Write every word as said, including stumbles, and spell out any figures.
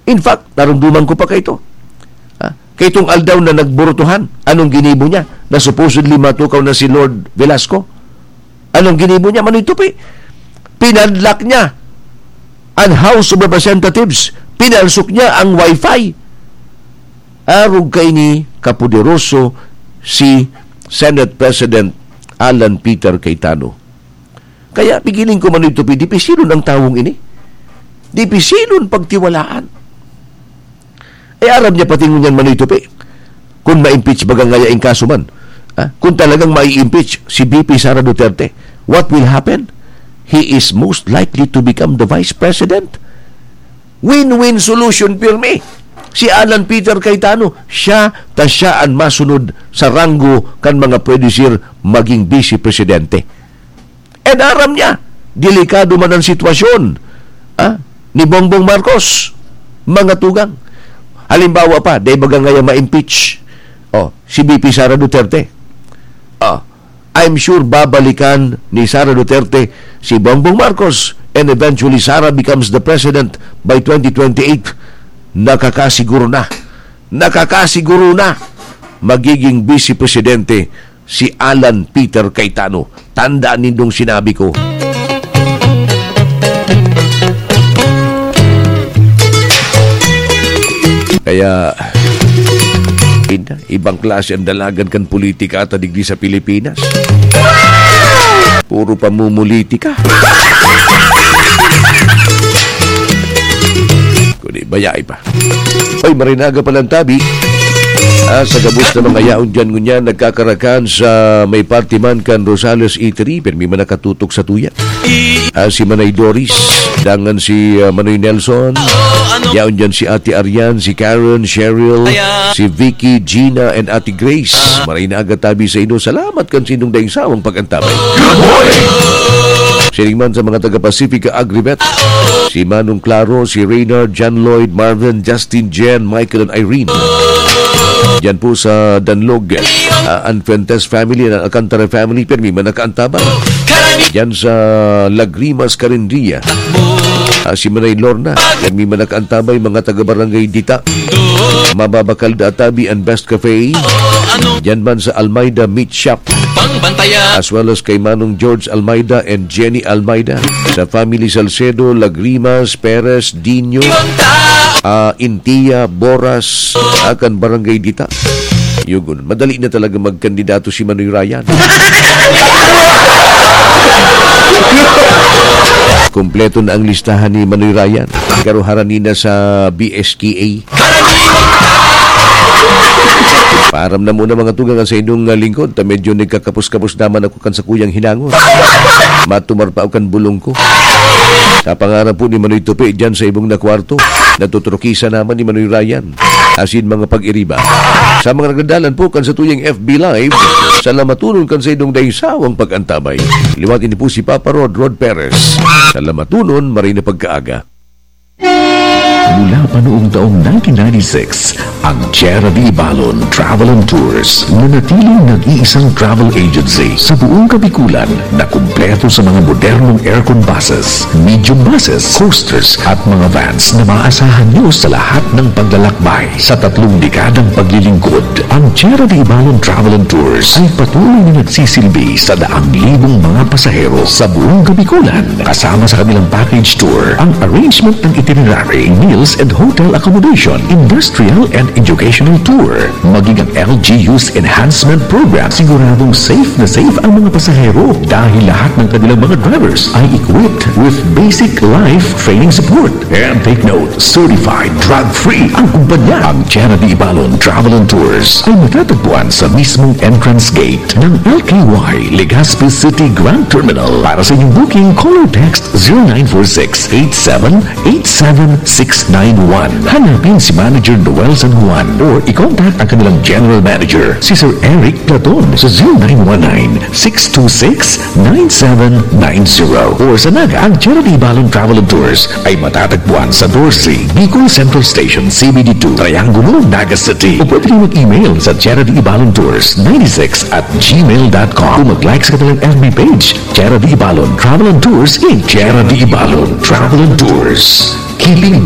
In fact, narumduman ko pa kaito. Ha? Kaitong aldaw na nagburutuhan, anong ginibo niya? Na supposedly matukaw na si Lord Velasco. Anong ginibo niya? Manoy Tupi. Pinadlak niya ang House of Representatives. Pinalsok niya ang wifi. Arog kaini kapoderoso si Senate President Alan Peter Cayetano. Kaya pigiling ko, Manoy Tupi, dipisilon ang tawong ini. Dipisilon pagtiwalaan. Eh, aram niya pati ngunyan, Manoy Tupi, kung ma-impeach baga ngaya in kaso man. Ah, kung talagang mai-impeach si V P Sara Duterte, what will happen? He is most likely to become the vice president. Win-win solution, pirmi. Si Alan Peter Cayetano, siya ta siya an masunod sa ranggo kan mga pwede sir maging vice presidente. And aram niya, delikado man ang sitwasyon, ah, ni Bongbong Marcos, mga tugang. Halimbawa pa, dahil baga ngaya ma-impeach, oh, si V P Sara Duterte. Oh, I'm sure babalikan ni Sara Duterte si Bongbong Marcos, and eventually Sara becomes the president by twenty twenty-eight. Nakakasiguro na. Nakakasiguro na. Magiging vice presidente si Alan Peter Cayetano. Tandaan nindong sinabi ko. Kaya, ina, ibang klase ang dalagan kan politika ata digdi sa Pilipinas. Puro pamumulitika. Kundi bayai pa. Oy, maray na aga palang tabi. Ah, sa gabos na mga yaon dyan ngunyan, nagkakarakan sa may party man kan Rosales Eatery, pirmi man nakatutok sa tuya. Ah, si Manay Doris, dangan si, ah, Manoy Nelson. Yaon dyan si Ate Arian, si Karen, Cheryl, si Vicky, Gina, and Ate Grace. Maray na aga tabi sa inyo. Salamat kan sa inyong daing sawang pag-antabay. Siring man sa mga taga Pacifica Agrivet, si Manong Claro, si Reynard, John Lloyd, Marvin, Justin, Jen, Michael, and Irene. Diyan po sa Danlog, ah, ang Fuentes family, ang Alcantara family, pirmi man nakaantabay. Diyan sa Lagrimas, Carindia, ah, si Manay Lorna, pirmi man nakaantabay, mga taga Barangay Dita. Mababakal da tabi ang Best Cafe. Diyan man sa Almeida Meat Shop. As well as kay Manong George Almeida and Jenny Almeida. Sa family Salcedo, Lagrimas, Perez, Dino, ah, Intia, Boras, ah, kan Barangay Dita. Yugon, madali na talaga magkandidato si Manoy Ryan. Kompleto na ang listahan ni Manoy Ryan. Karuharan nina sa B S K A. Paaram na muna, mga tugang, sa inyong, ah, lingkod, ta medyo nagkakapos-kapos naman ako kan sakuyang hinangon. Matumar pa ako kan bulong ko. Sa pangaran po ni Manoy Tupi, dyan sa ibong na kwarto, natutrukisa naman ni Manoy Ryan. Asin mga pag-iriba. Sa mga nagdadalan po kan satuyang F B Live, salamatunon kan sa inyong daing sawang pag-antabay. Liwat ini po si Papa Rod, Rod Perez. Salamatunon, maray na pagkaaga. Mula pa noong taong nineteen ninety-six, ang Tierra de Ibalon Travel and Tours nanatiling nag-iisang travel agency sa buong Kabikulan na kumpleto sa mga modernong aircon buses, medium buses, coasters at mga vans na maaasahan nyo sa lahat ng paglalakbay. Sa tatlong dekadang paglilingkod, ang Tierra de Ibalon Travel and Tours ay patuloy na nagsisilbi sa daang libong mga pasahero sa buong Kabikulan. Kasama sa kanilang package tour, ang arrangement ng itinerary, meals and hotel accommodation, industrial and educational tour, maging ang L G U's enhancement program, siguradong safe na safe ang mga pasahero dahil lahat ng kanilang mga drivers ay equipped with basic life training support. And take note, certified drug-free ang kumpanya. Ang Tierra de Ibalon Travel and Tours ay matatagpuan sa mismong entrance gate ng L K Y Legazpi City Grand Terminal. Para sa inyong booking, call or text zero nine four six eight seven eight seven six nine one. Hanapin si Manager Noel San Juan or i-contact ang kanilang General Manager, si Sir Eric Platon, sa zero nine one nine six two six nine seven nine zero. Or sa Naga, ang Tierra de Ibalon Travel and Tours ay matatagpuan sa doce, Bicol Central Station, C B D two, Triangulo, Naga City. O pwede rin mag-email sa Tierra de Ibalon Tours ninety-six at gmail dot com o mag-like sa kanilang F B page, Tierra de Ibalon Travel and Tours, in Tierra de Ibalon Travel and Tours. Keeping